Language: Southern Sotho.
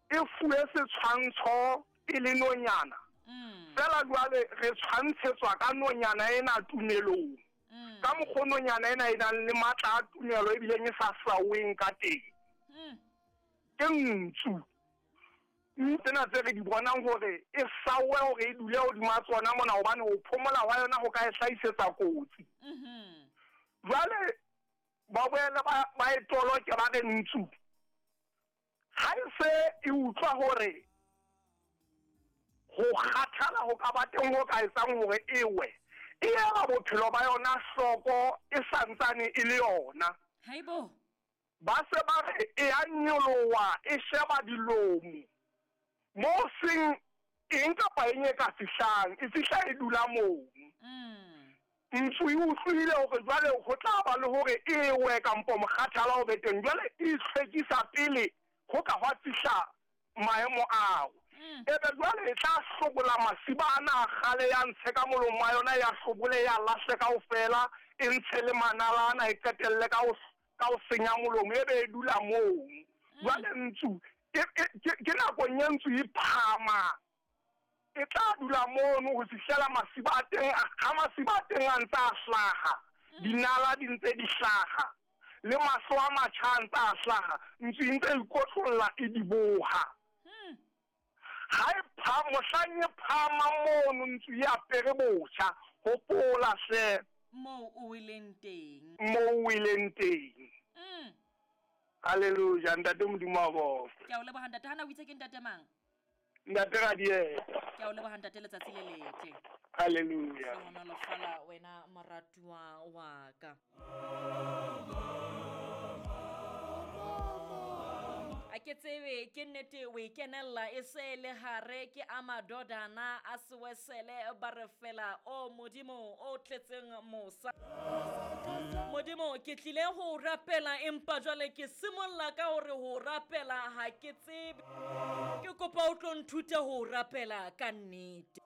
E fuwe setshwantsho e le nonyana. Mm. Fela jwale re tshwantshetswa ka nonyana ena tumelong. Mm. Ka mokgwa nonyana ena e nang le matla a tumelo ebileng e sa saweng ka teng. Mm. Ke ntsu. Tsena tse re di bonang hore e sawe hore e dule hodima tsona mona hobane ho phomola hwa yona ho ka e hlahisetsa kotsi. Mhm. Jwale ba boele ba ba e toloke ba re ntsu. Ha e se e utlwa hore ho kgathala ho ka ba teng ho ka etsang hore e we, e ela bophelo ba yona hloko e santsane e le yona. Haibo. Ba se ba re e a nyoloha e sheba dilomo moo seng eng kapa eng e ka fihlang, e fihla e dula moo. Mm. Ntsu e utlwile hore jwale ho tla ba le hore e we kampo mokgathala o be teng, jwale e itlhwekisa pele ho ka hwa fihla maemo ao. Mm. Ebe jwale e tla hlobola masiba ana a kgale ya ntshe ka molomo wa yona ya hlobole ya lahle kaofela, e ntshe le manala ana e qetelle ka ho ka ho senya molomo ebe e dula moo. Jwale ntsu e, e, ke, ke nakong e ntsu e phama e tla dula mono ho fihlela masiba a teng ha masiba a teng a ntse a hlaha, dinala di ntse di hlaha, le mahlo a matjha a ntse a hlaha, ntsu e ntse e ikotlolla e di boha. Mm. Ha e pha mohlang e phama mono ntsu e apere botjha, hopola hle Moo o weleng teng. moo o weleng teng. Mm. Hallelujah, ntate Modimo a bokwe. Ke a o leboha ntate. Hana o itse ke ntate mang? Ntate Radieta. Ke a o leboha ntate letsatsi le letle. Hallelujah. Hlohonolofala wena moratuwa wa ka. A ke tsebe ke nnete o e kenella e se le hare ke a madodana a sewesele ba re fela o modimo o tletseng mosa. Modimo ke tlile ho o rapela empa jwale ke simolla ka hore ho o rapela ha ke tsebe. Ke kopa o tlo nthuta ho o rapela ka nnete.